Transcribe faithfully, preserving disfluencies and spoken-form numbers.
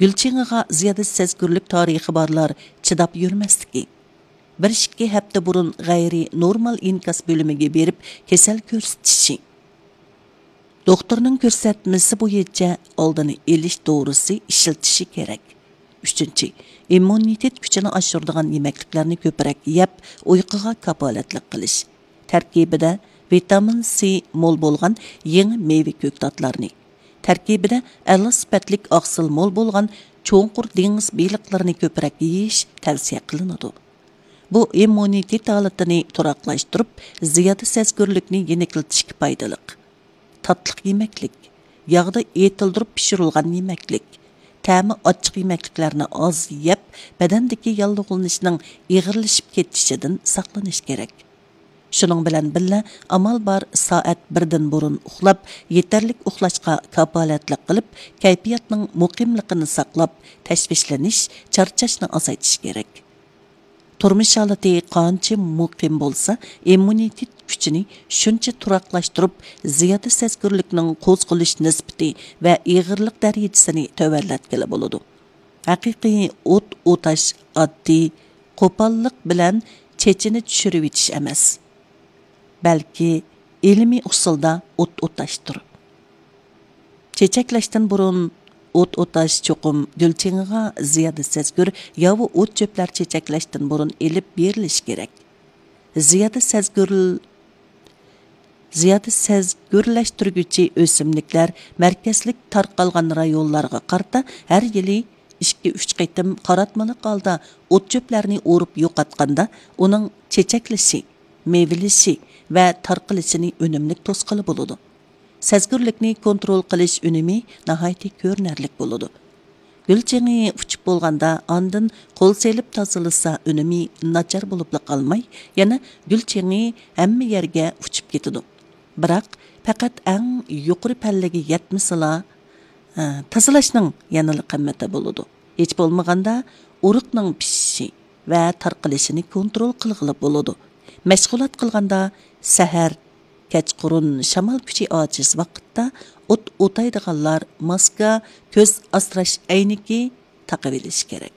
گۈل چېڭىغا زىيادە سەزگۈرلۈك تارىخى بارلار چىداپ يۈرمەسلىكى، بىر ئىككى ھەپتە بۇرۇن غەيرىي نورمال ئىنكاس بۆلۈمىگە بېرىپ كېسەل كۆرسىتىشى، دوختۇرنىڭ كۆرسەتمىسى بويىچە ئالدىنى ئېلىش دورىسى ئىشلىتىشى كېرەك. ئۈچىنچى، ئىممۇنىتېت كۈچىنى ئاشۇرىدىغان يېمەكلىكلەرنى كۆپرەك يەپ، ئۇيقۇغا كاپالەتلىك قىلىش. تەركىبىدە ۋىتامىن سى مول بولغان يېڭى مېۋە كۆكتاتلارنى، تەركىبىدە ئەلا سۈپەتلىك ئاقسىل مول بولغان چوڭقۇر دېڭىز بېلىقلىرىنى كۆپرەك يېيىش تەۋسىيە قىلىنىدۇ. بۇ ئىممۇنىتېت ھالىتىنى تۇراقلاشتۇرۇپ، زىيادە سەزگۈرلۈكنى يېنىكلىتىشكە پايدىلىق. تاتلىق يېمەكلىك، ياغدا ئېتىلدۇرۇپ پىشۇرۇلغان يېمەكلىك، تەمى ئاچچىق يېمەكلىكلەرنى ئاز يەپ، بەدەندىكى ياللۇغلىنىشنىڭ ئېغىرلىشىپ كېتىشىدىن ساقلىنىش كېرەك. شۇنىڭ بىلەن بىللە، ئامال بار سائەت بىردىن بۇرۇن ئۇخلاپ، يېتەرلىك ئۇخلاشقا كاپالەتلىك قىلىپ، كەيپىياتنىڭ مۇقىملىقىنى ساقلاپ، تەشۋىشلىنىش، چارچاشنى ئازايتىش كېرەك. تۇرمۇش ھالىتى قانچە مۇقىم بولسا، ئىممۇنىتېت كۈچىنى شۇنچە تۇراقلاشتۇرۇپ، زىيادە سەزگۈرلۈكنىڭ قوزغىلىش نىسبىتى ۋە ئېغىرلىق دەرىجىسىنى تۆۋەنلەتكىلى بولىدۇ. ھەقىقىي ئوت ئوتاش ئاددىي، قوپاللىق بىلەن چېچىنى چۈشۈرۈۋېتىش ئەمەس، بەلكى ئىلمىي ئۇسۇلدا ئوت ئوتاشتۇر. چېچەكلەشتىن بۇرۇن ئوت ئوتاش چوقۇم گۈل چېڭىغا زىيادە سەزگۈر ياۋا ئوت چۆپلەر چېچەكلەشتىن بۇرۇن ئېلىپ بېرىلىشى كېرەك. زىيادە سەزگۈر، زىيادە سەزگۈرلەشتۈرگۈچى ئۆسۈملۈكلەر مەركەزلىك تارقالغان رايونلارغا قارىتا ھەر يىلى ئىككى، ئۈچ قېتىم قاراتمىلىق ھالدا ئوت چۆپلەرنى ئورۇپ يوقاتقاندا، ئۇنىڭ چېچەكلىشى، مېۋىلىشى ۋە تارقىلىشىنى ئۈنۈملۈك توسقىلى بولىدۇ. سەزگۈرلۈكنى كونترول قىلىش ئۈنۈمى ناھايىتى كۆرۈنەرلىك بولىدۇ. گۈل چېڭى ئۇچۇپ بولغاندا ئاندىن قول سېلىپ تازىلىسا ئۈنۈمى ناچار بولۇپلا قالماي، يەنە گۈل چېڭى ھەممە يەرگە ئۇچۇپ كېتىدۇ. بىراق پەقەت ئەڭ يۇقىرى پەللىگە يەتمىسىلا، ئە، تازىلاشنىڭ يەنىلا قىممىتى بولىدۇ. ھېچ بولمىغاندا ئۇرۇقنىڭ پىشىشى ۋە تارقىلىشىنى كونترول قىلغىلى بولىدۇ. مەشغۇلات قىلغاندا سەھەر، كەچقۇرۇن شامال كۈچى ئاجىز ۋاقىتتا ئوت ئوتايدىغانلار ماسكا، كۆز ئاسراش ئەينىكى تاقىۋېلىشى كېرەك.